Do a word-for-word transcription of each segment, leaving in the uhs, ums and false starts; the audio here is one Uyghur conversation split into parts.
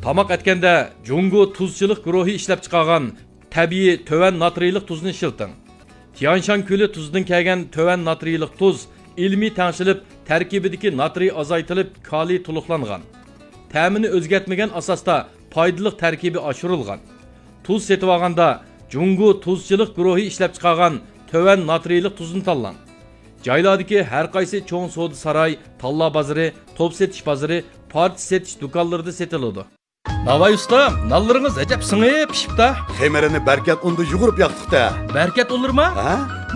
تاماق ئەتكەندە جۇڭگو تۇزچىلىق گۇرۇھى ئىشلەپچىقارغان تەبىئىي تۆۋەن ناترىيلىق تۇزنى ئىشلىتىڭ. تيانشان كۆلى تۇزىدىن كەلگەن تۆۋەن ناترىيلىق تۇز ئىلمىي تەڭشىلىپ، تەركىبىدىكى ناترىي ئازايتىلىپ، كالىي تولۇقلانغان. تەمىنى ئۆزگەرتمىگەن ئاساستا پايدىلىق تەركىبى ئاشۇرۇلغان. تۇز سېتىۋالغاندا جۇڭگو تۇزچىلىق گۇرۇھى ئىشلەپچىقارغان تۆۋەن ناترىيلىق تۇزنى تاللاڭ. جايلاردىكى ھەر قايسى چوڭ سودا ساراي، تاللا بازىرى، توپ سېتىش بازىرى، پارچە سېتىش دۇكانلىرىدا سېتىلىدۇ. ناۋاي ئۇستام، نانلىرىڭىز ئەجەب سىڭىپ پىشىپتا. خېمىرىنى بەركەت ئۇندا يۇغۇرۇپ ياقتۇق-تە. بەركەت ئۇنلىرىما؟ ھە؟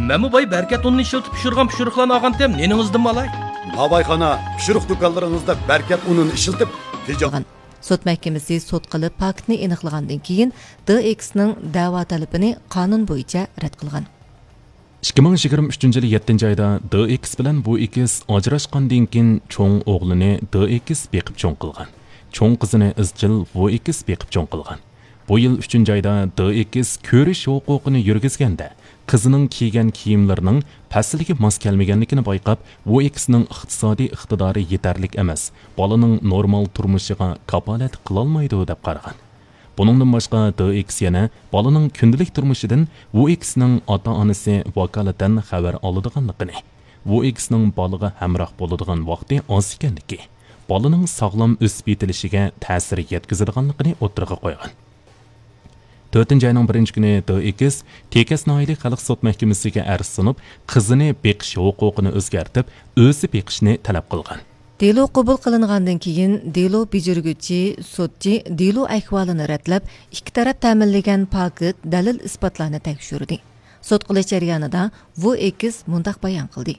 مەنمۇ باي بەركەت ئۇنىنى ئىشلىتىپ پىشۇرغان پىشۇرۇقلارنى ئالغانتىم، نېنىڭىزدىنمۇ ئالاي؟ ناۋايخانا، پىشۇرۇق دۇكانلىرىڭىزدا بەركەت ئۇنىنى ئىشلىتىپ، تېجە- سوت مەھكىمىسى سوت قىلىپ پاكىتنى ئېنىقلىغاندىن كېيىن، دې ئېكسنىڭ دەۋا تەلىپىنى قانۇن بويىچە رەت قىلغان. ئىككى مىڭ يىگىرمە ئۈچىنچى يىلى يەتتىنچى ئايدا دې ئېكس بىلەن ۋۇ ئېكس ئاجراشقاندىن كېيىن، چوڭ ئوغلىنى دې ئېكس بېقىپ چوڭ قىلغان. چوڭ قىزىنى ئىزچىل ۋۇ ئېكس بېقىپ چوڭ قىلغان. بۇ يىل ئۈچىنچى ئايدا دې ئېكس كۆرۈش ھوقۇقىنى يۈرگۈزگەندە، قىزىنىڭ كىيگەن كىيىملىرىنىڭ پەسىلگە ماس كەلمىگەنلىكىنى بايقاپ، ۋۇ ئېكسنىڭ ئىقتىسادىي ئىقتىدارى يېتەرلىك ئەمەس، بالىنىڭ نورمال تۇرمۇشىغا كاپالەتلىك قىلالمايدۇ، دەپ قارىغان. بۇنىڭدىن باشقا، دې ئېكس يەنە بالىنىڭ كۈندىلىك تۇرمۇشىدىن ۋۇ ئېكسنىڭ ئاتا-ئانىسى ۋاكالىتەن خەۋەر ئالىدىغانلىقىنى، ۋۇ ئېكسنىڭ بالىغا ھەمراھ بولىدىغان ۋاقتى ئاز ئىكەنلىكى، بالىنىڭ ساغلام ئۆسۈپ يېتىلىشىگە تەسىر يەتكۈزىدىغانلىقىنى ئوتتۇرىغا قويغان. تۆتىنچى ئاينىڭ بىرىنچى كۈنى دې ئېكس تېكەس ناھىيەلىك خەلق سوت مەھكىمىسىگە ئەرز سۇنۇپ، قىزىنى بېقىش ھوقۇقىنى ئۆزگەرتىپ، ئۆزى بېقىشنى تەلەپ قىلغان. دېلو قوبۇل قىلىنغاندىن كېيىن، دېلو بېجىرگۈچى سوتچى دېلو ئەھۋالىنى رەتلەپ، ئىككى تەرەپ تەمىنلىگەن پاكىت دەلىل-ئىسپاتلارنى تەكشۈردى. سوت قىلىش جەريانىدا ۋۇ ئېكس مۇنداق بايان قىلدى: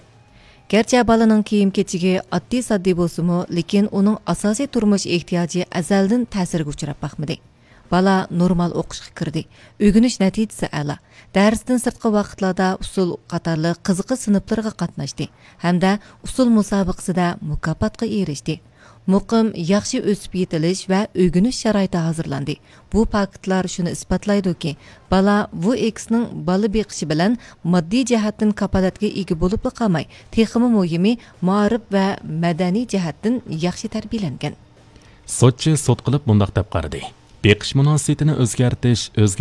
گەرچە بالىنىڭ كىيىم-كېچىكى ئاددىي-ساددىي بولسىمۇ، لېكىن ئۇنىڭ ئاساسىي تۇرمۇش ئېھتىياجى ئەزەلدىن تەسىرگە ئۇچراپ باقمىدى. بالا نورمال ئوقۇشقا كىردى، ئۆگىنىش نەتىجىسى ئەلا، دەرستىن سىرتقى ۋاقىتلاردا ئۇسسۇل قاتارلىق قىزىقىش سىنىپلىرىغا قاتناشتى ھەمدە ئۇسسۇل مۇسابىقىسىدە مۇكاپاتقا ئېرىشتى. مۇقىم، ياخشى ئۆسۈپ يېتىلىش ۋە ئۆگىنىش شارائىتى ھازىرلاندى. بۇ پاكىتلار شۇنى ئىسپاتلايدۇكى، بالا ۋۇ ئېكسنىڭ بالا بېقىشى بىلەن ماددىي جەھەتتىن كاپالەتكە ئىگە بولۇپلا قالماي، تېخىمۇ مۇھىمى، مائارىپ ۋە مەدەنىي جەھەتتىن ياخشى تەربىيەلەنگەن. سوتچى سوت قىلىپ مۇنداق دەپ قارىدى: بېقىش مۇناسىۋىتىنى ئۆزگەرتىش، ئۆزگە